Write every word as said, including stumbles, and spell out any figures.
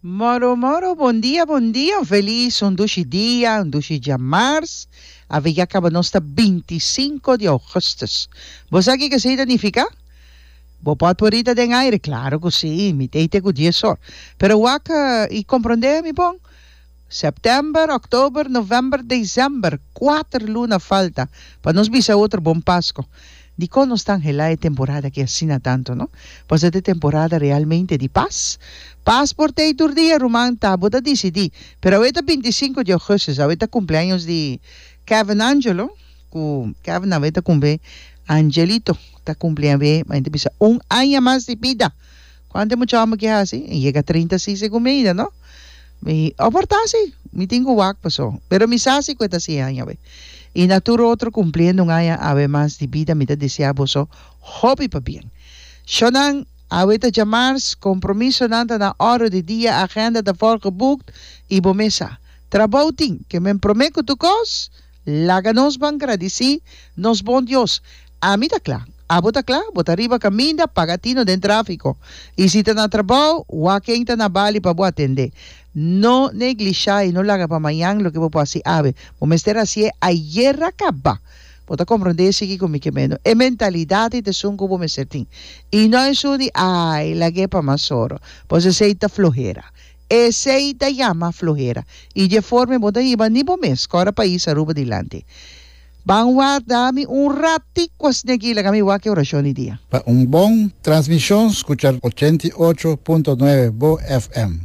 Moro moro, bon dia, bon dia, un felis, un dushi dia, un dushi djamars. Awe ya kaba nos ta binti sinku di ougùstùs. Bo sa kiko esei ta nifiká? Bo pòt por rita den aire? Klaro ku sí, mi t'ei te ku dies or. Pero wak i komprondé mi bon. Sèptèmber, òktober, novèmber, desèmber, kuater luna falta pa nos bisa otro bon Pasko. Dikon nos ta anhelá e temporada aki asina tantu, no? Pasobra ta e temporada realmente di pas. Pas por t'ei tur dia, ruman, ta bo ta disidí. Pero awe ta binti sinku di ougùstus, awe ta kumpleaños di Kevin Angelo, ku Kevin awe ta kumpli, Angelito ta kumpli awe, ma hende bisa un aña mas di bida. Kuantu e mucha hòmber ke hasi? E yega trinta si segun mi ainda, no? Mi oportá si, mi tin ku wak paso, pero mi sa si ku e ta hasi e aña awe. I na tur otro kumpliendo un aña awe mas di bida mi ta deseá boso hopi pabien. Shonnan, awe ta djamars, kompromisonan ta na òrdu di dia, agenda ta volgeboekt i bo mes sa. Trabou tin, ke men promé ku tur kos, Laga nos ban gradisí nos bon Dios. Ami ta kla. Abo ta kla? Bo ta riba kaminda, paga tino den tráfiko. I si ta na trabou, wak ken ta na bali pa bo atendé. No neglishá i no laga pa mañan loke bo por hasi awe. Bo mester hasié ayera kaba. Bo ta komprondé esiki ku mi ke meno. E mentalidat ei ta esun ku bo mester tin. I no esun di, Ai, lag'é pa mas oro. Pues esei ta flohera. Esey ta yama flohera y dje forma bo ta hiba ni bo mes cora pais Aruba dilanti. Ban warda mi un ratico asina aki laga mi wak e oracion di dia. Pa un bon transmision scucha ochenta i ocho punto nuebe Bo F M.